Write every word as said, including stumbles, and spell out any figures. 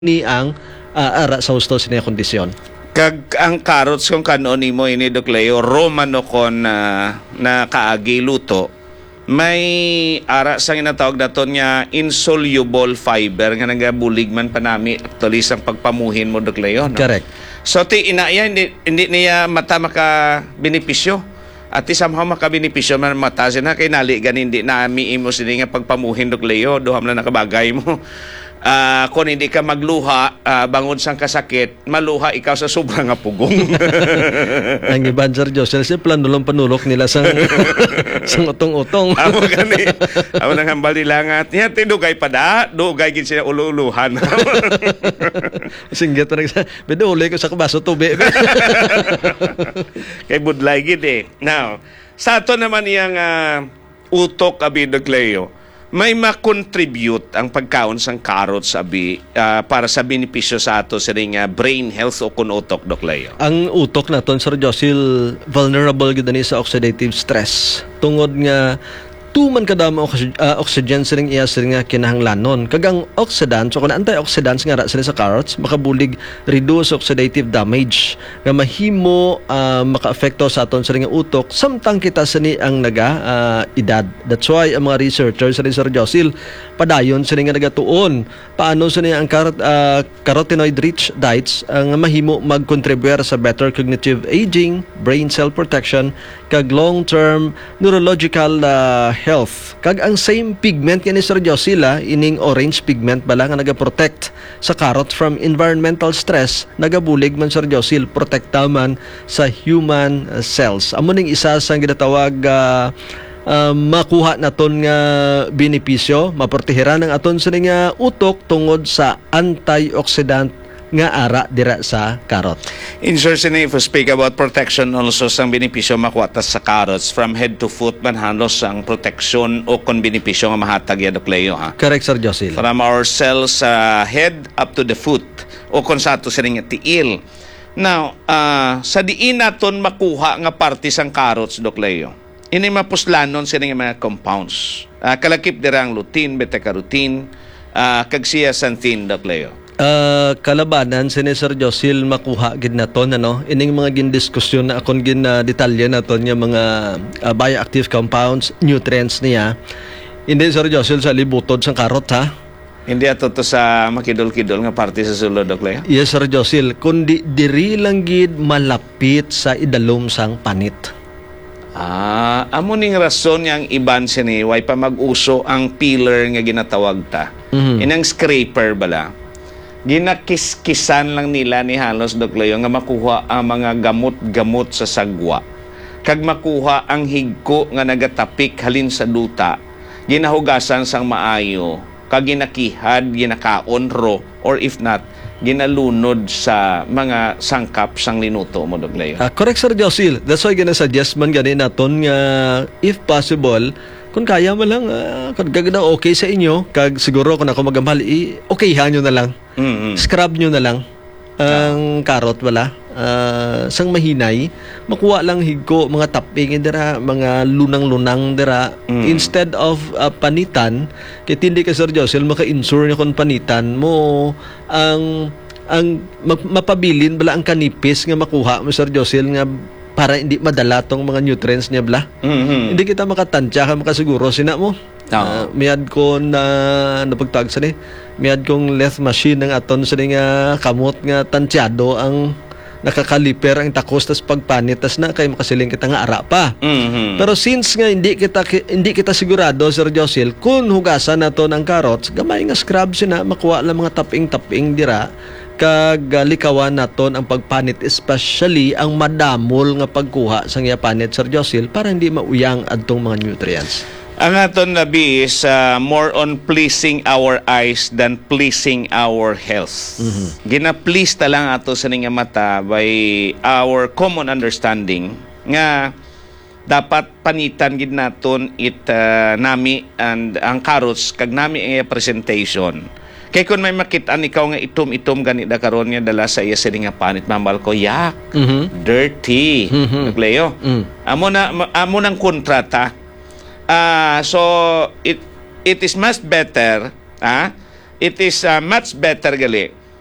ni ang, ah, ara sa husto sini nga kondisyon. Kag ang carrots, kung kan-on nimo ini, Doc Leo, raw man o kon, ah, nakaagi luto, may ara sa ginatawag naton nga insoluble fiber nga nagabulig man panami, actually, sang pagpamuhin mo, Doc Leo, no? Correct. So, ti ina iya, hindi, hindi niya mata makabenepisyo. At ti somehow makabenepisyo man mata sina, kay nali gani hindi nami imo sini nga pagpamuhin, Doc Leo, duha man lang nakabagay mo. Ah, kung hindi ka magluha, ah, bangod sang kasakit, maluha ikaw sa sobra nga pugong. Ang iban, Sir Josel, siya planulong panulok nila sang, sang utong-utong. Amo gani. Amo nang hambal nila nga, "Niya, ti dugay pa da, dugay gid sila ulo-uluhan." Singgit pa nagsa-, "Pwede uli ko sa kabaso tubi." Kay budlay gid eh. Now, sa ato naman iyang, ah, utok, abi, Doc Leo, may ma-contribute ang pagkaon sang carrots, abi, ah, para sa benepisyo sa ato sining, ah, brain health o kun utok, Doc Leo? Ang utok naton, Sir Josil, vulnerable gid ani sa oxidative stress. Tungod nga tuman kadamo ang oxy-, ah, oxygen sining iya sining nga kinahanglanon. Kag ang oxidants o kun antioxidants nga ara sini sa carrots makabulig reduce oxidative damage nga mahimo, ah, makaapekto sa aton sini nga utok samtang kita sini ang naga, ah, edad. That's why ang mga researchers sini, Sir Josil, padayon sini nga nagatuon paano sini ang carot-, ah, carotenoid-rich diets, ah, nga mahimo magkontribuyar sa better cognitive aging, brain cell protection, kag long-term neurological, ah, health. Kag ang same pigment nga ni Sir Josil, ah, ining orange pigment bala nga nagaprotect sa carrot from environmental stress, nagabulig man, Sir Josil, protekta man sa human, ah, cells. Amo ning isa sang ginatawag, ah, ah, makuha naton nga benepisyo, maprotehiran ang aton sini nga utok tungod sa antioxidant nga ara dira sa carrot. In short, sini, if we speak about protection also, sang benepisyo makuha ta sa carrots, from head to foot man halos ang proteksyon o kon benepisyo nga mahatag ya, Doc Leo, ha? Correct, Sir Josil. From our cells sa head up to the foot, o kon sa ato sining tiil. Now, ah, sa diin naton makuha nga parte sang carrots, Doc Leo? Ini mapuslanon sini nga mga compounds. Ah, kalakip dira ang lutein, beta-carotene, ah, kag zeaxanthin, Doc Leo. Ah, kalabanan sini, Sir Josil, makuha gid naton, ano? Ining mga gindiskusyon na akon gin, ah, detalye naton nga mga, ah, bioactive compounds, nutrients niya. Hindi, Sir Josil, sa libutod sang karot, ha? Hindi ato to sa makidol-kidol nga parte sa sulod, Doc Leo? Yes, Sir Josil. Kundi diri lang gid malapit sa idalom sang panit. Ah, amo ning rason nga ang iban sini, way pa mag-uso ang peeler nga ginatawag ta. Mhm. Inang scraper bala. Ginakiskisan lang nila ni halos, Doc Leo, nga makuha ang mga gamot-gamot sa sagwa. Kag makuha ang higko nga nagatapik halin sa duta, ginahugasan sang maayo, kag ginakihad, ginakaon ro, or if not, ginalunod sa mga sangkap sang linuto mo, Doc Leo. Ah, correct, Sir Josil. That's why ginasuggest man gani naton nga, if possible, kung kaya man lang, ah, kung gagda okay sa inyo, kag siguro kung ako magamhal, i-okayhan nyo na lang. Mm-mm. Scrub nyo na lang ang karot, wala? Ah, sang mahinay, makuha lang higko, mga taping dira, mga lunang-lunang dira. Mm. Instead of, ah, panitan, kay tindi ka, Sir Josil, maka-insure niya kung panitan mo ang, ang mag-, mapabilin bala ang kanipis nga makuha mo, Sir Josil, nga para hindi madala tong mga nutrients niya bala. Mhm. Hindi kita makatansya ka makasiguro sina mo. Oo. Ah, miad ko na napagtag sa ni, miad kong lathe machine ang aton sa ni nga kamot nga tansyado ang nakakaliper ang takos tas pagpanit tas na kay makasiling kita nga ara pa. Mhm. Pero since nga hindi kita ki-, hindi kita sigurado, Sir Josil, kung hugasan naton ang carrots, gamay nga scrub sina, makuha lang mga taping-taping dira, kag, ah, likawan naton ang pagpanit, especially ang madamol nga pagkuha sang iya panit, Sir Josil, para hindi mauyang adtong mga nutrients. Ang aton labi is, ah, more on pleasing our eyes than pleasing our health. Mhm. Gina-please ta lang ato sa ning mata by our common understanding nga dapat panitan gid naton it, ah, nami and ang carrots kag nami ang iya presentation. Kay kun may makit-an ikaw nga itom-itom gani da karon nga dala sa iya sini nga panit, mambal ko, "Yak, Mhm. dirty." Mhm. Doc Leo. Mm. Amo na, ma-, amo nang kontrata. Ah, so, it, it is much better, ah, it is, ah, much better gali